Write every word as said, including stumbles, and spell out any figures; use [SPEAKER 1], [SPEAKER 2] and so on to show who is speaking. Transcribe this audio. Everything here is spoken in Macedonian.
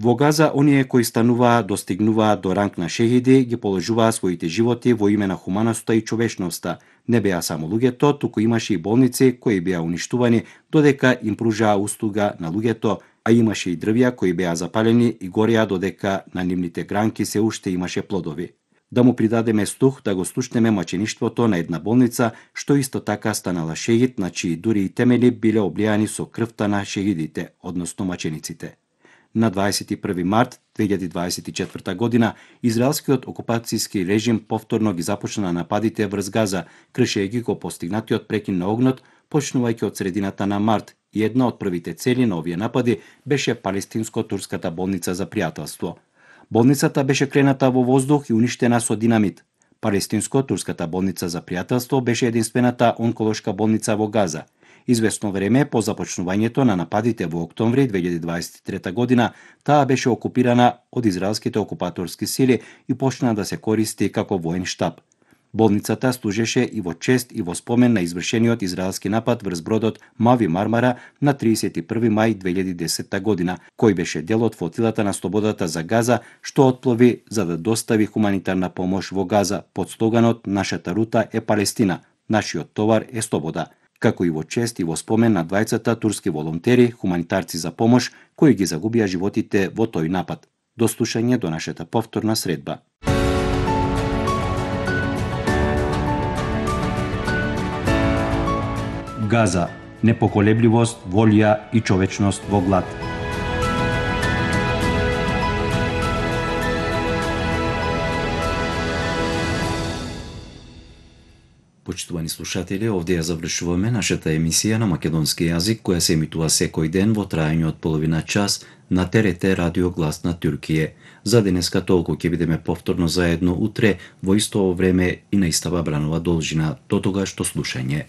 [SPEAKER 1] Во Газа, оние кои стануваа, достигнуваат до ранг на шехиди, ги положуваа своите животи во име на хуманоста и човечноста. Не беа само луѓето, туку имаше и болници кои беа уништувани додека им пружаа услуга на луѓето, а имаше и дрвја кои беа запалени и гореа додека на нивните гранки се уште имаше плодови. Да му придадеме слух да го слушнеме мачеништвото на една болница, што исто така станала шехид, на чии дури и темели биле облијани со крвта на шехидите, односно мачениците. На дваесет и први март две илјади дваесет и четврта година, израелскиот окупацијски режим повторно ги започна нападите врз Газа, кршејќи го постигнатиот прекин на огнот, почнувајќи од средината на март, и една од првите цели на овие напади беше палестинско-турската болница за пријателство. Болницата беше крената во воздух и уништена со динамит. Палестинско-турската болница за пријателство беше единствената онколошка болница во Газа. Известно време по започнувањето на нападите во октомври две илјади дваесет и трета година, таа беше окупирана од израелските окупаторски сили и почна да се користи како воен штаб. Болницата служеше и во чест и во спомен на извршениот израелски напад врз бродот Мави Мармара на триесет и први мај две илјади десета година, кој беше дел од флотилата на слободата за Газа, што отплови за да достави хуманитарна помош во Газа под слоганот "Нашата рута е Палестина, нашиот товар е слобода", како и во чест и во спомен на двајцата турски волонтери, хуманитарци за помош, кои ги загубија животите во тој напад. До слушање до нашата повторна средба. Газа, непоколебливост, волја и човечност во глад. Почитувани слушатели, овде ја завршуваме нашата емисија на македонски јазик, која се емитува секој ден во трајање од половина час на Т Р Т Радио Глас на Туркија. За денеска толку, ќе бидеме повторно заедно утре во исто време и на истава бранова должина. До тогаш, до слушање.